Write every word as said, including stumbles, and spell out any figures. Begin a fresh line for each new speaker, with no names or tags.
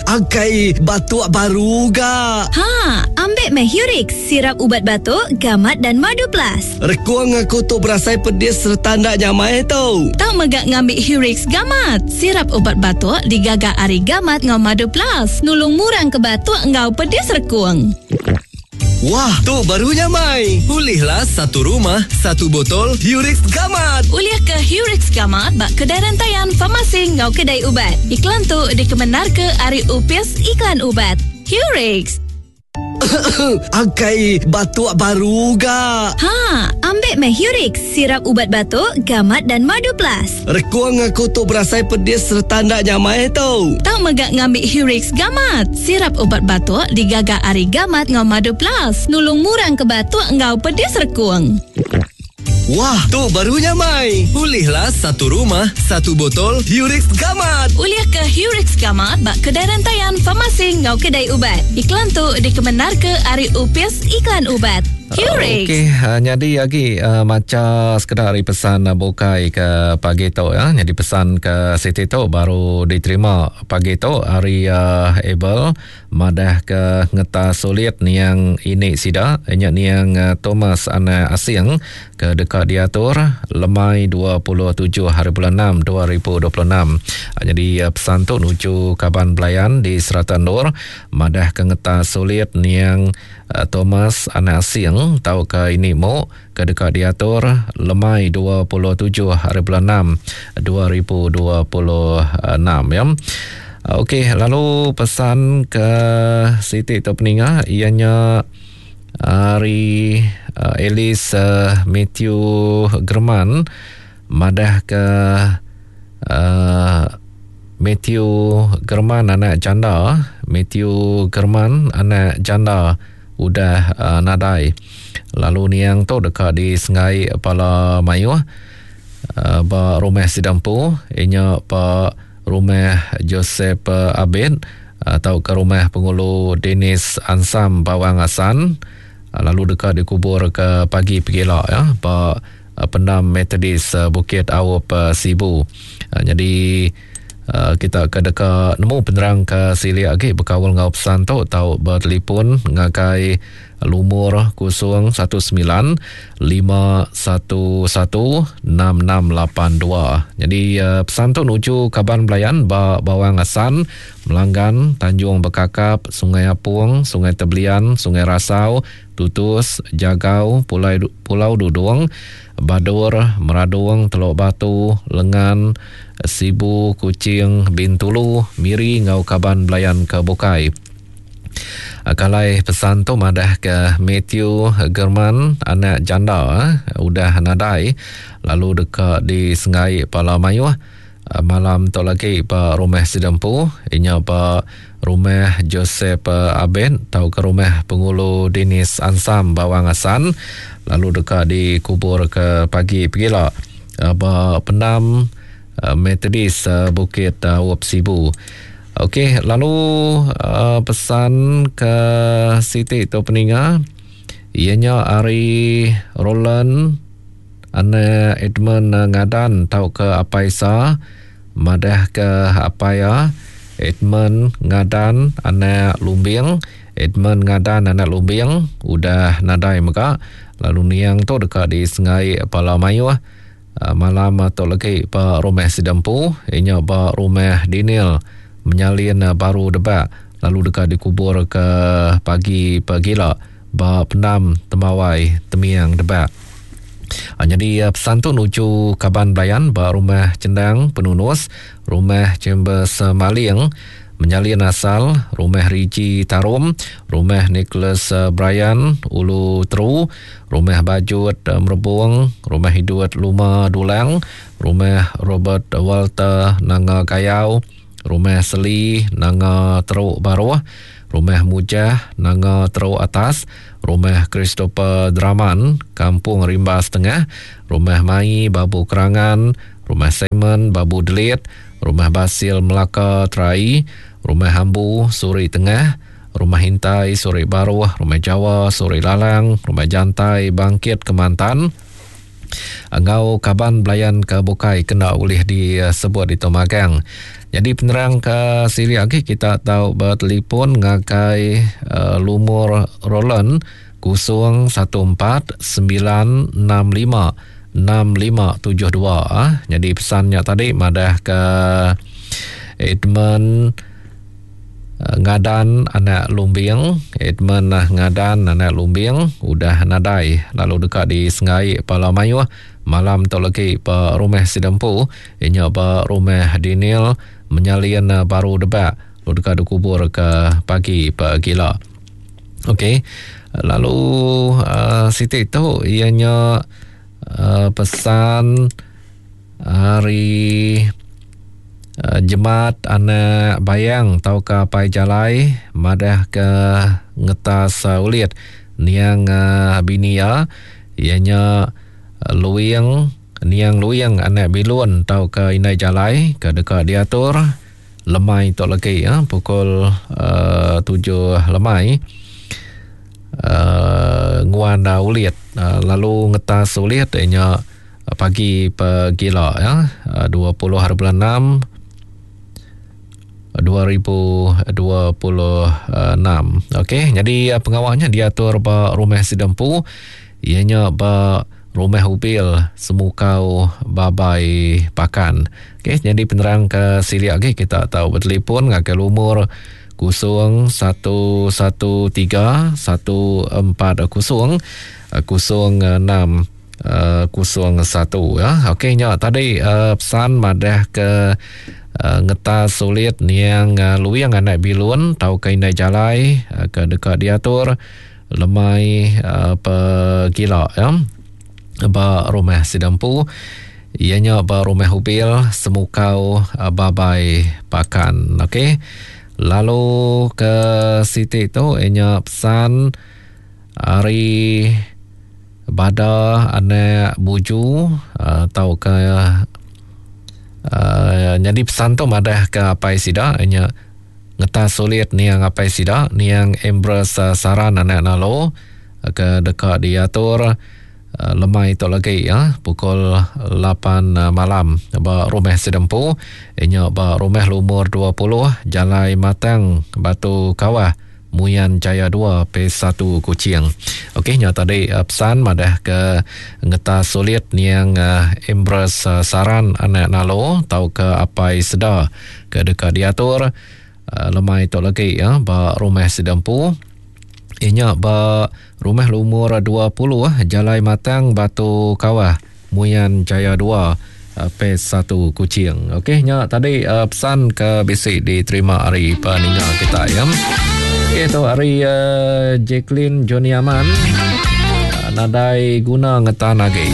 Akai batuk baru ga.
Ha, ambil meh Hurix, sirap ubat batuk, gamat dan madu plus.
Rekuang aku tu berasai pedis serta ndak nyamai tu.
Tau megak ngambil Hurix gamat. Sirap ubat batuk digaga ari gamat ngau madu plus. Nulung murang ke batuk ngau pedis rekuang.
Wah, tu baru nyamai. Pulihlah satu rumah, satu botol Hurix Gamat.
Ulih ke Hurix Gamat bak kedai rantaian farmasi ngau kedai ubat. Iklan tu dikemenar ke ari Upis Iklan Ubat. Hurix.
Akai batuk baru ga.
Ha, ambil meh Hurix, sirap ubat batuk, gamat dan madu plus.
Rekuang aku tu berasai pedis serta ndak nyamai tu.
Tau megak ngambil Hurix gamat. Sirap ubat batuk digaga ari gamat ngau madu plus. Nulung murang ke batuk ngau pedis rekuang.
Wah, tu baru nyamai. Pulihlah satu rumah, satu botol Hurix Gamat.
Ulih ke Hurix Gamat bak kedai rantaian farmasi ngau kedai ubat. Iklan tu dikemenar ke ari Upis Iklan Ubat. Hurix.
Okey, uh, jadi lagi uh, maca sekedar hari pesan uh, bukai ke pagi tu ya. Jadi pesan ke Siti tu baru diterima pagi tu hari uh, Abel madah ke ngeta sulit niang ini sida nya niang uh, Thomas anak asing ke dekat diatur lemai dua puluh tujuh hari bulan enam dua ribu dua puluh enam. Uh, jadi uh, pesan tu nuju kaban belayan di Serata Nur madah ke ngeta sulit niang uh, Thomas anak asing tau ke ini mo ke dekat diatur lemai dua puluh tujuh hari bulan enam dua ribu dua puluh enam ya. Okey, lalu pesan ke Siti tu peninga ianya hari uh, Alice uh, Matthew German madah ke uh, Matthew German anak janda, Matthew German anak janda udah uh, nadai. Lalu niang tu dekat di Sengai Pala Mayuh uh, ba rumah Sidampu inya pa rumah Joseph uh, Abed atau ke rumah pengulu Dennis Ansam Bawang Asan, uh, lalu dekat dikubur ke pagi pegila ya ba uh, pendam Methodist uh, Bukit Awop uh, Sibu. Uh, jadi Uh, kita ke deka nemu penerang ke silik lagi berkaul ngau pesan tu tau bertelefon ngagai lumur kosong satu sembilan lima satu satu enam enam lapan dua. Jadi uh, pesan tu nuju kaban belayan ba Bawang Asan, Melanggan, Tanjung Bekakap, Sungai Apung, Sungai Tebelian, Sungai Rasau, Tutus, Jagau, Pulau, Pulau Dudung, Badur, Meradung, Teluk Batu, Lengan, Sibu, Kuching, Bintulu, Miri ngau kaban belayan ke Bukai. Kalai pesan tu madah ke Matthew German anak janda udah nadai lalu dekat di Sengai Pala Mayuh malam tu lagi ba rumah Sidempu inya ba rumah Joseph Abed tau ke rumah pengulu Dennis Ansam Bawang Asan lalu dekat dikubur ke pagi pegila ba pendam Methodist Bukit Awop Sibu. Okey, lalu uh, pesan ke Siti tu peninga ianya ari Roland anak Edmund Ngadan tau ke Apaisa madah ke Apaya Edmund Ngadan anak Lumbing, Edmund Ngadan anak Lumbing udah nadai mega lalu niang tu dekat di Sengai Pala Mayuh malam tu lagi ba rumah Sidempu inya ba rumah Daniel menyalin baru debak lalu dekat dikubur ke pagi pagila ba pendam Temawai Temiang Debak. Ha, jadi pesan tu nuju kaban belayan ba rumah Cendang Penunus, rumah Chambers Maling menyalin asal, rumah Riji Tarum, rumah Nicholas Brian Ulu Teru, rumah Bajut Merebung, rumah Hiduat Luma Dulang, rumah Robert Walter Nanga Gayau, rumah Seli Nanga Teruk Baruh, rumah Mujah Nanga Teruk Atas, rumah Christopher Draman Kampung Rimbas Tengah, rumah Mai Babu Kerangan, rumah Simon Babu Delit, rumah Basil Melaka Terai, rumah Hambu Suri Tengah, rumah Hintai Suri Baruh, rumah Jawa Suri Lalang, rumah Jantai Bangkit Kemantan. Engau kaban belayan ke Bukai kena ulih disebut di Tomagang. Jadi penerang ke siri lagi kita tahu bertelefon ngagai uh, lumur Roland kosong satu empat sembilan enam lima enam lima tujuh dua. Ah. Jadi pesannya tadi madah ke Edmund Ngadan anak Lumbing, Edmund Ngadan anak Lumbing udah nadai lalu dekat di Sengai Pala Mayuh malam tu lagi ba rumah Sidempu inya ba rumah Daniel menyalin baru debak lalu dekat dikubur ke pagi pagila. Okey, lalu uh, siti tu ianya uh, pesan hari Uh, jemat anak bayang tau ka pai jalai madah ke ngetas uh, ulit niang uh, bini ya ianya uh, luing niang luing anak bilun tau ka inai jalai ke dekat diatur lemai tok lagi ya pukul uh, tujuh lemai uh, nguan uh, ulit uh, lalu ngetas ulit ianya uh, pagi pegila ya uh, dua puluh hari bulan enam dua ribu dua puluh enam. Okey, jadi pengawalnya diatur ba rumah Sidempu ianya ba rumah Ubil Semukau Babai Pakan. Okey, jadi penerang ke siri lagi kita tahu bertelefon ngagai lumur kosong satu satu tiga satu empat kosong kosong enam kosong satu ya. Okey, nya tadi uh, pesan madah ke Uh, ngetas sulit niang uh, luing anak bilun tau ke inai jalai uh, ke dekat diatur lemai uh, pegila ya ba rumah Sidempu ianya ba rumah Ubil Semukau uh, Babai Pakan. Okey, lalu ke siti tu ianya pesan hari bada anak buju uh, tau ke Uh, jadi pesan tu madah ke apai sida ianya ngetas sulit niang apai sida niang Embrace uh, saran anak nalo uh, ke dekat diatur uh, lemai tu lagi ya pukul lapan uh, malam ba rumah Sidempu ianya ba rumah lumur dua puluh Jalai Matang Batu Kawah Muyan Jaya dua P satu Kuching. Okey, nya tadi uh, pesan madah ke ngetas sulit niang uh, Embrace uh, saran anak nalo tau ke apai seda ke dekat diatur uh, lemai tu lagi ya ba rumah Sidempu inya ba rumah lumur dua puluh Jalai Matang Batu Kawah Muyan Jaya dua P satu Kuching. Okey, nya tadi uh, pesan ke bisi diterima hari peninga kita ya. Itu hari uh, Jacqueline Joni Aman uh, nadai guna ngetan lagi.